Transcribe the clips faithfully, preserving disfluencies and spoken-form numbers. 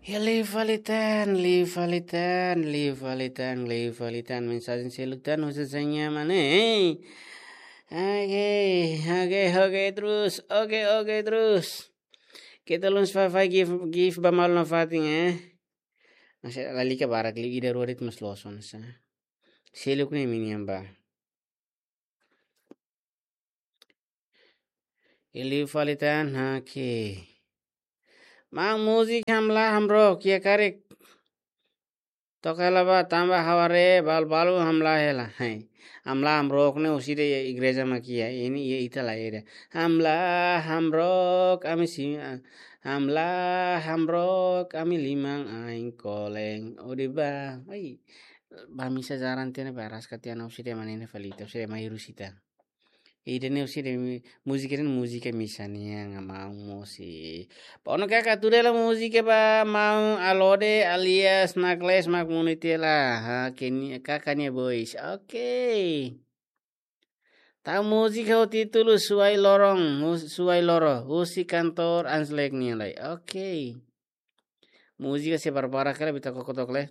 Ya, liu fali tan, liu fali tan, liu fali tan, liu fali tan. Mensajen seluk tan, husi Sanya mana, eh? Oke, oke, oke terus, oke, oke terus. Kita luns fai fai gift, gift ba malu nafatin, eh? Masih lalika barak liu ida rua de'it mós loos ona sa. Seluk ne'e minian ba. Liu fali tan, oke. Maun múzika Hamlaha Hamrook, iha karik. Toka hela ba, tanba ha'u haree balu-balu hamlaha hela. Hai. Hamlaha Hamrook ne'e husi ida iha igreja mak iha. Ne'e iha ita la ida. Hamlaha Hamrook, ami si, ah, Hamlaha Hamrook, ami liman ain koleng. Odi ba. Ai. Ba misa jaran tiha ne'ebé araska tiha ona husi ida mak ne'e fali ita, husi ida mak iha Rúsia ita. Ida-ne'e husi ida mi-, múzika ne'e múzika misa nian, maun mosi. Ba ona kaka tuda hela múzika ba maun Alode alias Nakles mak muni tiha hela. Ha, kenia kaka nia boys. Oke. Tau múzika ho títulu Suai Lorong, hu-, Suai Loro, husi kantór Anslek nian lai. Oke. Múzika sei barbarak hela, ita koko took lai.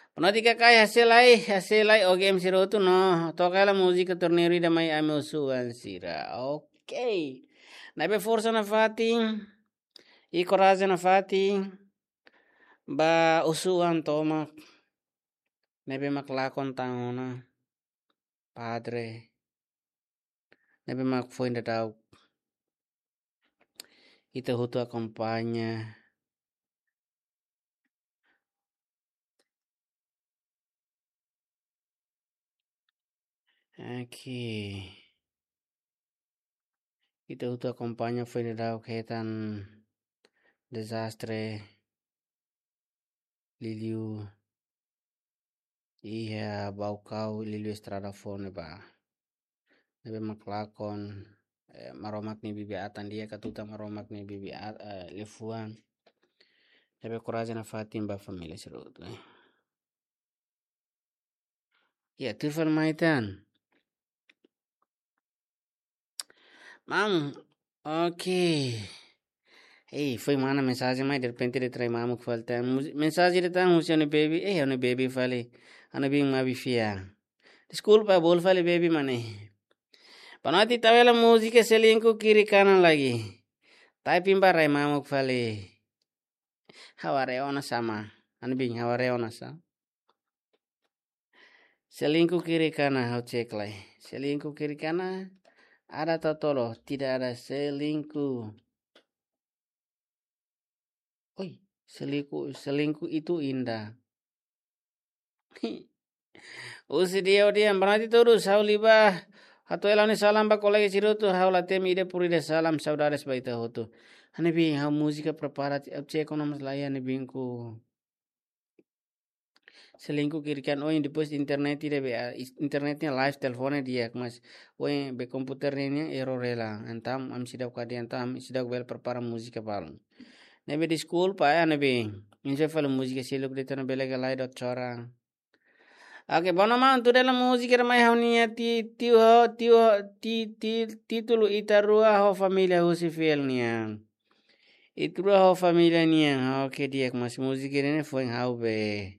Penati kakai hasil lai, hasil lai, oke M C Rotu no. Toka hela múzika torneiru ida mai ami husu-oan sira. Oke. Ne'ebé forsa nafatin, i korajen nafatin, ba husu-oan tomak. Ne'ebé mak lakon tan ona. Padre. Ne'ebé mak foin daudauk. Ita hotu akompaña. Oke. Ita hotu akompaña foin daudauk hetan dezastre liuliu iha Baucau, liuliu estrada foun ne'ebá. Ne'ebé mak lakon, eh, Maromak nia bibi-atan di'ak, katutan Maromak nia bibi-at-, eh, liafuan. Ne'ebé korajen nafatin ba família sira hotu, eh. Ya, tuir fali mai tan. Maun, oke. Ei, foin mana mensajen mai, derrepente de'it rai mamuk fali tan. Mus-, mensajen de'it tan husi ha'u-nia baby, eh, ha'u-nia baby fali. Ha'u-nia biin Mabi Fia. Deskulpa, bolu fali baby mane. Penati tau hela múzika Selingkuh Kiri Kanan lagi. Typing ba rai mamuk fali. Ha'u haree ona sa maun. Ha'u-nia biin ha'u haree ona sa. Selingkuh kiri kanan, ha'u cek lai. Selingkuh kiri kanan, ada totolo, tidak ada selingkuh. Oi, selingkuh, selingkuh itu indah. Husi dia, dia, berarti terus, ha'u liu ba, hato'o hela ha'u-nia salam ba kolega sira hotu, ha'u la temi ida por ida salam, saudades ba ita hotu. Ha'u-nia biin, ha'u múzika prepara, ha'u cek ona mós la iha ha'u-nia biinku. Selingkuh kiri kanan, oin, depois internet ida be, ah, is-, internet nia live, telefone di'ak, mas oin be komputer nian error hela. Entaun ami seidauk karik, entaun ami seidauk bele prepara múzika balu. Ne'ebé deskulpa, eh, ne'ebé. Imi sei fali múzika seluk de'it ona bele ka lai dot chora. Oke, bom, maun, tuda hela múzika ida mai ha'u-nia ti-, tiu ho, tiu ho, ti-, ti-, títulu Ita Rua ho Família husi Fiel nian. Ita Rua ho Família nian. Oke, di'ak, mas múzika ne'e foin ha'u be.